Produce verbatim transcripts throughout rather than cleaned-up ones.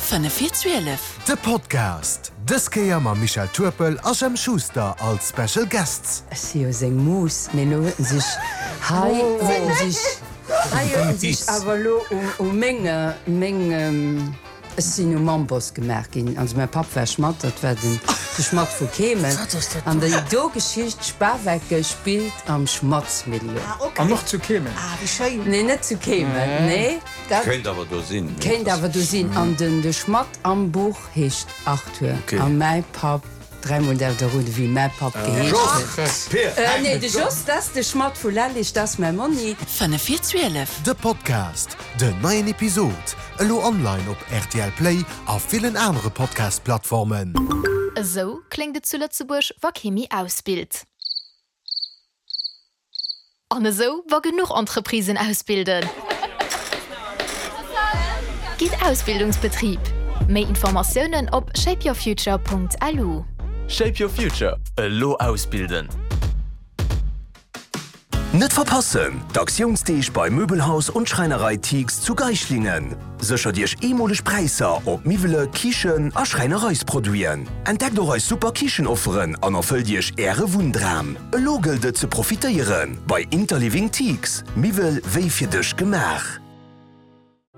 Fënnef vir zwielef. De Podcast, dës Kéier mam Michel Turpel a Jemp Schuster als Special Guests. Ech si jo seng Mus, mee lo huet en sech hei huet en sech hei huet en sech awer lo u meng meng ech sinn um Amboss gemaach ginn. Also mäi Papp war Schmadd, dat war den de Schmadd vu Keemen. An déi do Geschicht Spawecken spillt am Schmaddsmilieu. An och zu Keemen? Nee, net zu Keemen, nee. Dat Kéint awer do sinn. Kéint awer do sinn. An den de Schmadd am Buch heescht Arthur. A mäi Papp, dräimol däerft der roden, wéi mäi Papp geheescht huet. Nee, de Jos, dat ass de Schmadd vu Lellig, dat ass mäi Monni. Fënnef vir zwielef. De Podcast, Den neien Episod elo online op R T L Play a villen anere Podcast-Plattformen. Esou kléngt et zu Lëtzebuerg, wa kee méi ausbilt. An esou, wa genuch Entreprisen ausbilden. Gitt Ausbildungsbetrib. Méi Informatiounen op shapeyourfuture Punkt L U. Shape Your Future, elo ausbilden! Net verpassen! D'Aktiounsdeeg bei Möbelhaus und Schreinerei Tiegs zu Geislingen. Séchert Iech eemoleg Präisser op Miwwele, Kichen a Schräinereisproduiten. Entdeckt och eis super Kichenofferen an erfëllt Iech Äre Wunndram. Elo gëllt et ze profitéieren bei Interliving Tiegs. Miwwel wéi fir dech gemaach.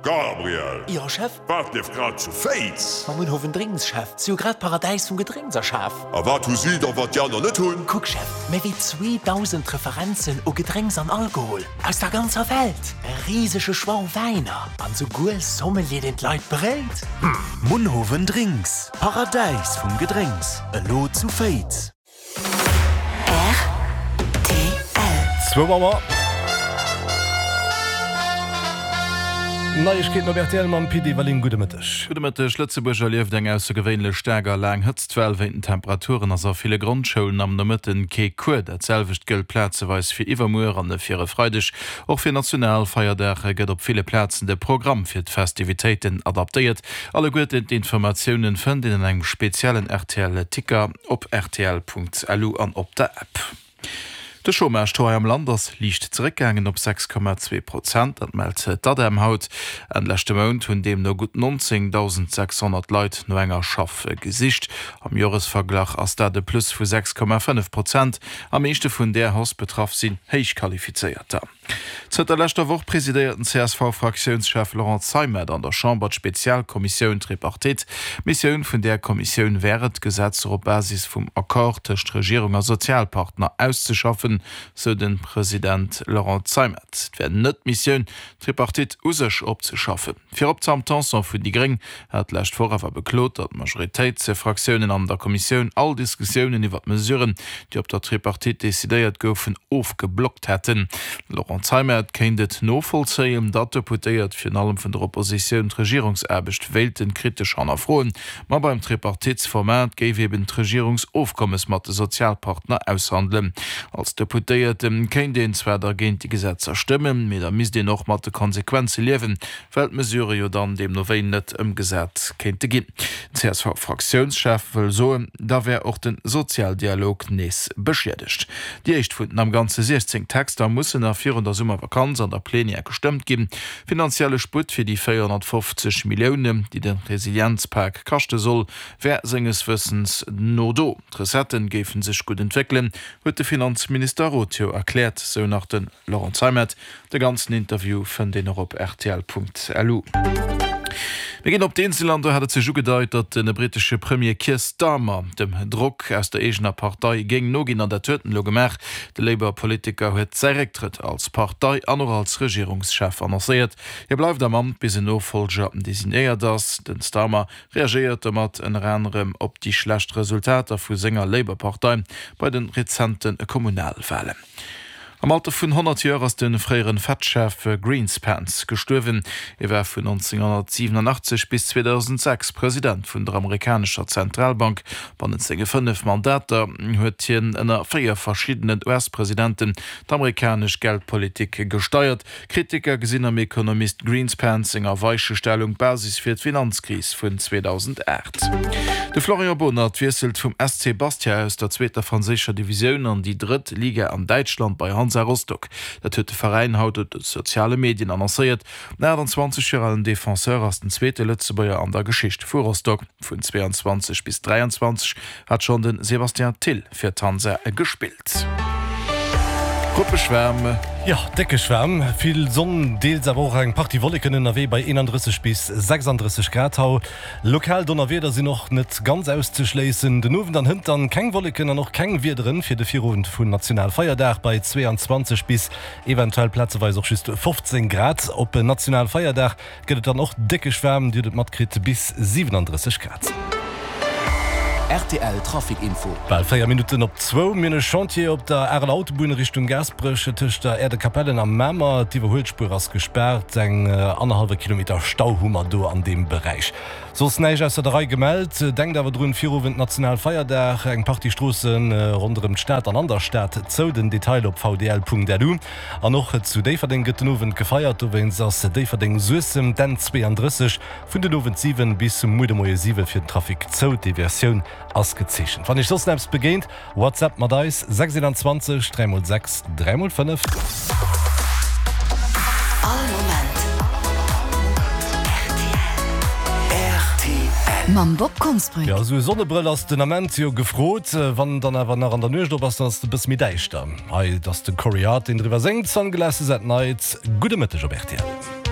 Gabriel! Jo, Chef? Wat leeft grad zu Féiz? Mam Munhowen Drinks, Chef. Si hu grad d'Paradäis vum Gedrénks erschaf. A wat hu si da, wat déi aner net hunn? Kuck, Chef, méi wéi zweedausend Referenzen u Gedrénks an Alkohol aus der ganzer Welt, e risege Choix u Wäiner an souguer Sommelier, deen d'Leit beréit. Munhowen Drinks, Paradäis vum Gedrénks, elo zu Féiz. R T L. Zwou Auer. Neiegkeeten op R T L mam Pit Everling. Gudde Mëtteg. Gudde Mëtteg. Lëtzebuerg erlieft eng aussergewéinlech staark a laang Hëtztwell. Wéint den Temperaturen ass a ville Grondschoulen am Nomëtten kee Cours. Dat selwecht gëllt plazeweis fir iwwermuer an fir e Freideg. Och fir Nationalfeierdag gëtt op ville Plazen de Programm fir d'Festivitéiten adaptéiert. Alleguerten d'Informatiounen fënnt een an engem speziellen R T L-Ticker op R T L Punkt L U an op der App. De Chômage-Taux hei am Land ass liicht zeréckgaangen op sechs Komma zwee Prozent, dat mellt d'ADEM haut. Enn leschte Mount hunn deemno gutt nonzéngdausend sechshonnert Leit no enger Schaff gesicht. Am Joresverglach ass dat e Plus vu sechs Komma fënnef Prozent. Am meeschte vun där Hausse betraff sinn Héichqualifizéierter. Zënter leschter Woch presidéiert den C S V-Fraktiounschef Laurent Zeimet an der Chamber d'Spezialkommissioun Tripartite. D'Missioun vun där Kommissioun wär et, Gesetzer op Basis vum Accord tëscht Regierung a Sozialpartner auszeschaffen, sou de President Laurent Zeimet. Et wär net d'Missioun, d'Tripartite u sech opzeschaffen. Virop d'Sam Tanson vun déi Gréng hat d'lescht Woch awer beklot, datt d'Majoritéitsfraktiounen an der Kommissioun all Diskussiounen iwwer d'Mesuren, déi op der Tripartite decidéiert goufen, ofgeblockt hätten. De Laurent Zeimet kéint et novollzéien, datt Deputéiert virun allem vun der Oppositioun d'Regierungsaarbecht wéilten kritesch hannerfroen, ma beim Tripartitsformat géif eben d'Regierungsofkommes mat de Sozialpartner aushandelen. Als Deputéierte kéint een zwar da géint déi Gesetzer stëmmen, mee da misst een och mat de Konsequenze liewen, well d'Mesurë jo dann deemno wéi net ëmgesat kéinte ginn. Den C S V-Fraktiounschef wëll soen, da wär och de Sozialdialog nees beschiedegt. Déi éischt vun den am Ganze siechzéng Texter mussen nach virun der Summervakanz an der Plenière gestëmmt ginn. Finanzielle Sputt fir déi véierhonnertfofzeg Milliounen, déi de Resilienzpak kaschte soll, wär senges Wëssens no do. D'Recettë géife sech gutt entwéckelen, huet de Finanzminister Roth jo erkläert, sou nach de Laurent Zeimet. De ganzen Interview fënnt een och op R T L Punkt L U. Mir ginn op d'Insel an do hat et sech ugedeit, datt de brittesche Premier Keir Starmer dem Drock aus der eegener Partei géing noginn an dat huet en elo gemaach. De Labour-Politiker huet säi Récktrëtt als Partei an och als Regierungschef annoncéiert. Hie bleift am Amt bis en Nofollger designéiert ass. Den Starmer reagéiert domat ënner anerem op déi schlecht Resultater vu senger Labour-Partei bei de rezente Kommunalwalen. Am Alter vun honnert Joer ass de fréiere Fed-Chef Greenspan gestuerwen. Hie war vun nonzénghonnertsiwenunachtzeg bis zweedausendsechs President vun der amerikanescher Zentralbank. Bannent senge fënnef Mandater huet hien ënner véier verschiddenen U S-Presidenten d'amerikanesch Geldpolitik gesteiert. Kritiker gesinn am Ekonomist Greenspan senger Weichestellung d'Basis fir d'Finanzkris vun zweedausendacht. De Florian Bohnert wiesselt vum S C Bastia aus der zweeter franséischer Divisioun an déi drëtt Liga an Däitschland. Bei Hansa Rostock. Dat huet de Veräin haut op de soziale Medien annoncéiert. Den achtanzwanzeg Joer alen Defenseur ass den zweete Lëtzebuerger an der Geschicht vu Rostock. Vun zweiundzwanzeg bis dräianzwanzeg hat schonn de Sébastien Thill fir d'Hansa gespillt. Ruppeg waarm. Jo, déckeg waarm, vill Sonn, deels awer och eng Partie Wolleken ënnerwee bei eenandrësseg bis sechsanddrësseg Grad. Hau lokal Donnerwieder sinn och net ganz auszeschléissen. Den Owend an hënt dann keng Wolleken an och keng Wiederen fir de Virowend vun Nationalfeierdag bei zweeanzwanzeg bis eventuell plazeweis och just fofzéng Grad. Op Nationalfeierdag gëtt et dann och déckeg waarm, Dir hutt et matkritt, bis siwenandrësseg Grad. Rtl Trafic Info. Bal véier Minutten op zwou. Mir hunn e Chantier op der Areler Autobunn Richtung Gaasperech tëscht der Aire de Capellen a Mamer. D'Iwwerhuelspuer ass gespaart. Eng annerhallwe Kilometer Stau hu mer do an deem Beräich. Soss näischt ausser der Rei gemellt. Denkt awer drun, Virowend Nationalfeierdag, eng Partie Stroosse ronderëm d'Stad an an der Stad zou. Den Detail op vdl.lu. An och zu Déifferdeng gëtt den Owend gefeiert. Dowéinst ass Déifferdeng-Suessem d'N zweiunddrësseg vun den Owend siwen bis muer de Moie siwe fir den Trafic zou. D'Deviatioun ass gezeechent. Wann iech soss eppes begéint, WhatsApp mat eis, sechs eenanzwanzeg dräi mol sechs dräi mol fënnef. All Moment rtl. Mam Bob Konsbrück. Jo, esou e Sonnebrëll ass den Ament jo gefrot. Wann en dann awer nach an der Nuecht op ass, dann ass et e bësse méi däischter. Hei, et ass de Corey Hart, deen driwwer séngt, Sunglasses at Night. Gudde Mëtteg op rtl.